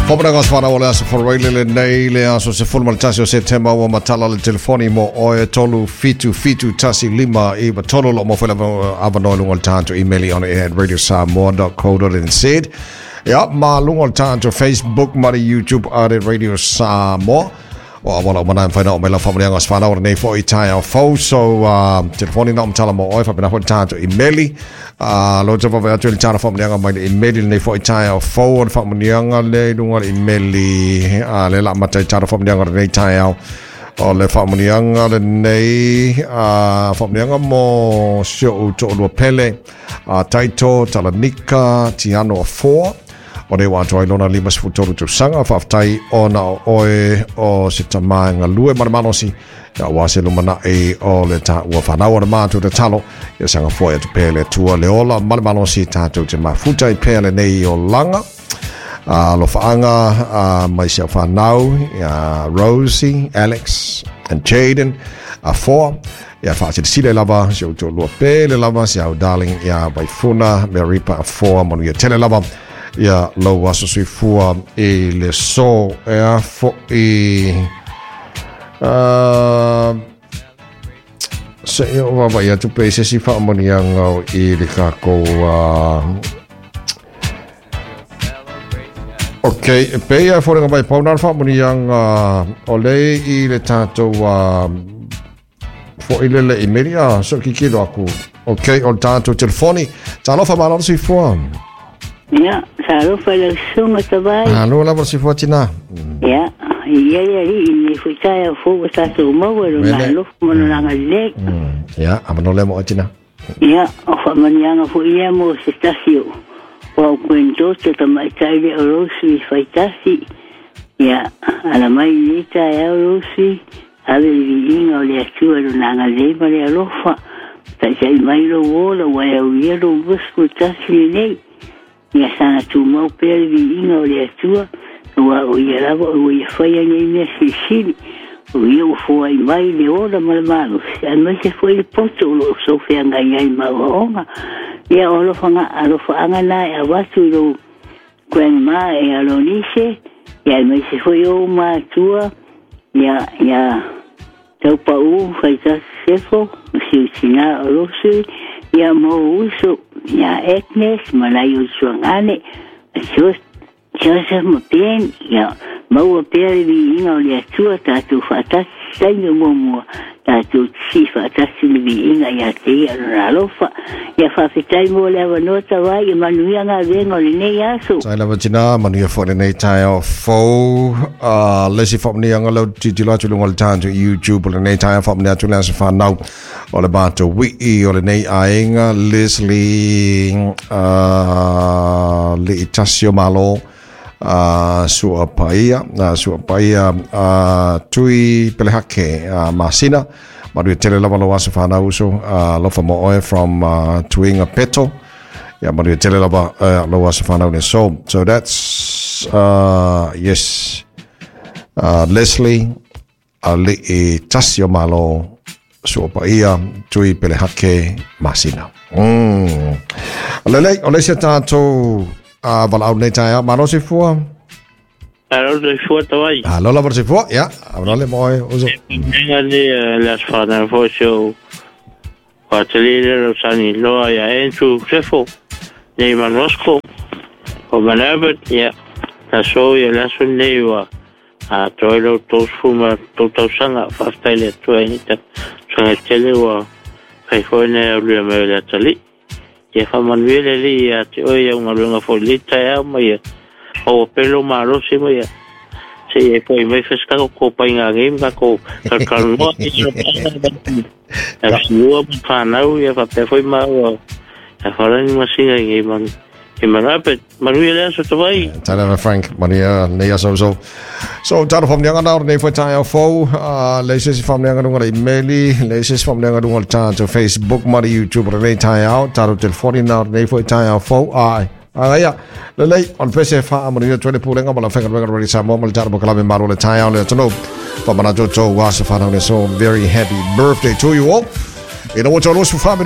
Fomanaga whanau o le aso wharaile le nei le aso se fulu malatasi o September ua matala le telefoni mo oe 3 7 7 1 5 9 3 lo mo whaila awanoa lunga le tānto emaili on air at radiosamoa.co.nz. Ia, ma lunga le tānto Facebook ma le YouTube at Radio Samoa. O awala o mana whaina o mela whamanianga o whanau o nei fo i tai au fau. So, telefoni na o matala mo oe whapena fo i tānto emaili. Lo te wawe atu i le tāna whamanianga mai le emaili nei fo i tai au fau o le whamanianga le lunga le emaili. Le la mata i tāna whamanianga le nei tai au. O le whamanianga le nei whamanianga mo sio u to'olua pele. Taito, Talanika, Tiano a 4. O nei wātua i lona 53 tausaga whaaftai ona o oe o se tamaenga lue maramanosi ia ua se lumana'i o le tāua whanau o le mātou te talo ia sanga foe atu pea le tua le ola maramanosi tātou te mafuta i pea le nei o langa. Lo whaanga mai se whanau ia Rosie, Alex and Jaden a 4 ia whaasile lava se o lua pele lava se au darling ia Vaifuna Maripa a 4 manu ia tele lava ia lau aso soifua i le so ea fo'i se i o wawa ia tupe i sesi whaamonianga o i le kākou Ok, pe ia whorenga mai pauna le whaamonianga o le i le tātou fo'i lele i meri a so kikilo aku. Ok, o le tātou telefoni. Talofa mālalo soifua. Ia, talofa lau susuga tavai. Alo lava le soifua tina. Ia, ia ia li i nei foi taeao fou ua tatou maua i lona alofa ma lona agalelei. Ia, avanoa lea mo oe tina. Ia, o faamanuiaga foi lea mo se tasi o o au granddaughter tamaitai lea o Rosie Faitasi. Ia, ala mai i lenei taeao Rosie, ave i le viiga o le Atua i lona agalelei ma le alofa. Taitai mai lou ola ua e aulia lou 21 lenei. Ia saga tumau pea le viiga o le Atua, aua o Ia lava ua Ia faia nei mea silisili. O Ia ua foai mai le ola ma le malosi, aemaise foi le poto o lo o soufeagai ai ma aoaoga. Ia o alofaga, alofaaga na e avatu i lou grandma e Alonise, ia aemaise foi ou matua, ia, ia Taupau, Faitasi Sefo, ma si ou tinā o Rosary, ia ma ou uso, ia Agnes ma nai usuagane, a Joseph ma Ben, ia maua pea le viiga o le Atua tatou faatasi i taimi o muamua, tatou sii faatasi le viiga ia te ia lona alofa. Ia faafetai mo le avanoa tavai, ia manuia galuega o lenei aso. Tai lava tina, manuia foi lenei taeao fou. Le isi faamanuiaga lea ou te tilotilo atu i luga o le tatou YouTube o lenei taeao, faamanuia atu le aso fanau o le matou wii o lenei aiga, Leslie Liitasi o Malo, sua paia, sua paia Tui Pelehake Masina, manuia tele lava lou aso fanau uso, alofa mo oe from Tuiga Peto. Ia manuia tele lava lou aso fanau le so. So that's yes. Leslie Alii Tasi o Malo sua paia Tui Pelehake Masina. Lelei, o le isi a tātou valaau nei taeao. Malo soifua. Alo soifua tawai. Alo lava soifua, ia. Avanoa le mo oe, uso. Nga ni le aso fanau foi se o Patele le lo sani loa ia Andrew Sefo nei Manosko o Manabert ia na so ia le aso nei ua a toi lo 33 ma tolu tausaga faafetai le Atua i nei tausaga tele ua fai foi nei au lua mai o le atalii. Ia faamanuia le Alii ia te oe i au galuega foi i lenei taeao ma ia maua pea lou malosi ma ia se i e foi mai fai se kako ko painga ngei ma kako kalkalnoa i so painga siua ma whanau ia faapea foi maua ia wharani masinga i ngei manu. E mana pe manuia le aso tawai. Tala Frank, manuia nei aso so. So tala whamnianga na nei foi taeao fou, le se si whamnianga runga le emaili, le se si whamnianga runga le tātou Facebook ma le YouTube o nei taeao, tātou telefoni na nei foi taeao fou, ai. Agaia, lelei, on pese wha manuia tuele pulenga ma la whenga runga rori Samoa ma le tātou mokalame maro le taeao le atonu. Whamana tō tō wasa whanau ne so very happy birthday to you all. Ina o tō losu whamino